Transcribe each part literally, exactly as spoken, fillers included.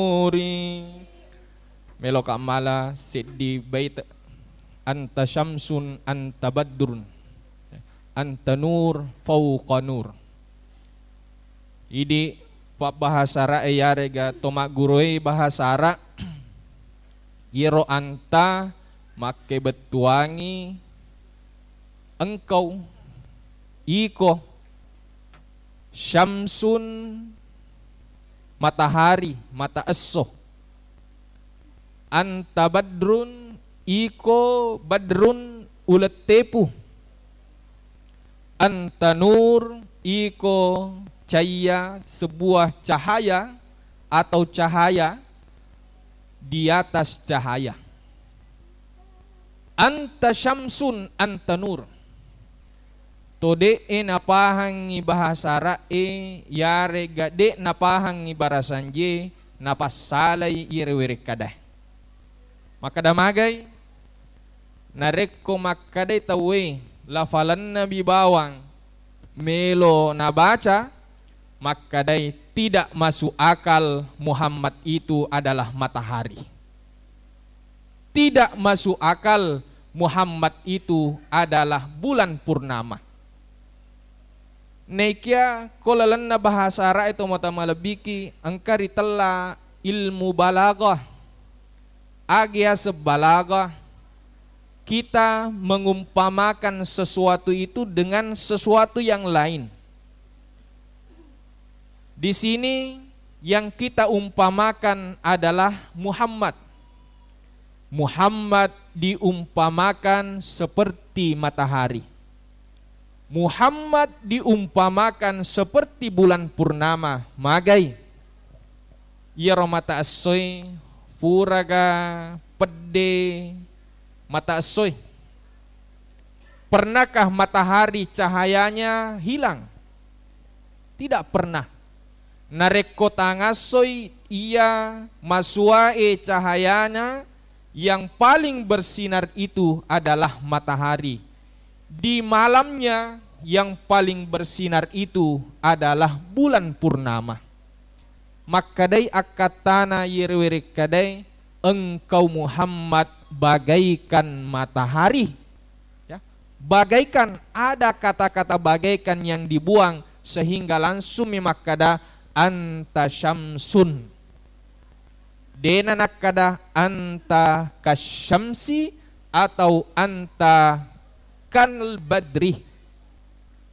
Nuri. Meloka mala seddi bait. Anta syamsun, anta badrun, anta nur fauqa nur. Idi pabbahasa Ara'e yarega to magguruei bahasa Ara', iyaro anta makkebettuangi engkau, iko, syamsun, matahari, mata esso. Anta badrun, iko badrun, uleng tepu. Anta nur, iko caiya, sebuah cahaya atau cahaya di atas cahaya. Anta syamsun, anta nur. To de'e napahangngi bahasa Ara'e, yarega de' napahangngi barasanjie, napassalai iyere werekkadae. Makkeda magai, narekko makkadai tauwe lafalennabi bawang melo nabaca, makkadai tidak masuk akal Muhammad itu adalah matahari. Tidak masuk akal Muhammad itu adalah bulan purnama. Naikia ko lalenna bahasa Ara'e tomatoa malebbiki, engka ritella ilmu balaghah. Agi yaseng balaghah, kita mengumpamakan sesuatu itu dengan sesuatu yang lain. Di sini yang kita umpamakan adalah Muhammad. Muhammad diumpamakan seperti matahari. Muhammad diumpamakan seperti bulan purnama. Magai? Iyaro mata essoi, puraga pedde mata essoi. Pernahkah matahari cahayanya hilang? Tidak pernah. Narekko tangassoi iya masuae cahayana, yang paling bersinar itu adalah matahari. Di malamnya, yang paling bersinar itu adalah bulan purnama. Makkedai akkattana iyero werekkadae, "Engkau Muhammad bagaikan matahari." Ya. Bagaikan, ada kata-kata bagaikan yang dibuang sehingga langsung mi makkeda, "Anta syamsun." Dena nakkeda, "Anta kasyamsi" atau "Anta kal badri."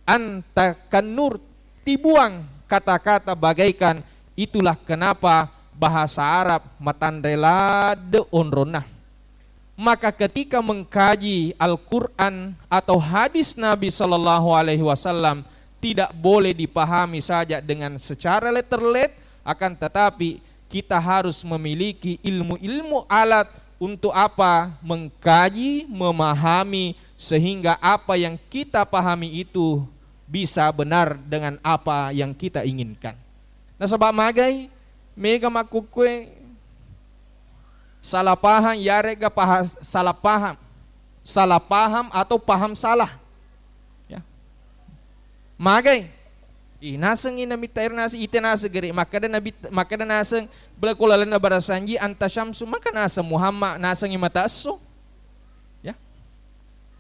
Anta kannur, tibuang kata-kata bagaikan. Itulah kenapa bahasa Arab matanre ladde onronna. Maka ketika mengkaji Al-Quran atau hadis Nabi Sallallahu Alaihi Wasallam, tidak boleh dipahami saja dengan secara letter-let, akan tetapi kita harus memiliki ilmu-ilmu alat untuk apa? Mengkaji, memahami, sehingga apa yang kita pahami itu bisa benar dengan apa yang kita inginkan. Nasaba magai, mega makkukkue salah paham, yarega paha-, salah paham, salah paham atau paham salah. Ya. Magai. Ih, nasengngi Nabitta ero naseng, ite naseng gere. Makkeda Nabi, makkeda naseng, bela ko lalenna barasanji, "Anta syamsu," maka naseng Muhammad, nasengngi mata esso. Ya.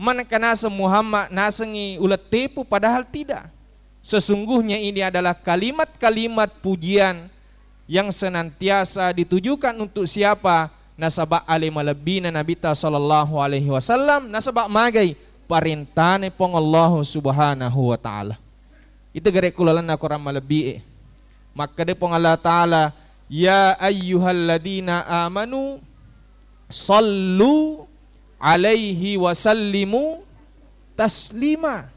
Manengka naseng Muhammad, nasengngi uleng tepu, padahal tidak. Sesungguhnya ini adalah kalimat-kalimat pujian yang senantiasa ditujukan untuk siapa? Nasaba ale malebbina Nabitta Sallallahu Alaihi Wasallam, nasaba magai parentana Puang Allahu Subhanahu wa Ta'ala. Itu gare ku lalenna Quran malebbi e. Makkeda Puang Allah Ta'ala, "Ya ayyuhalladzina amanu sallu alaihi wa sallimu taslima."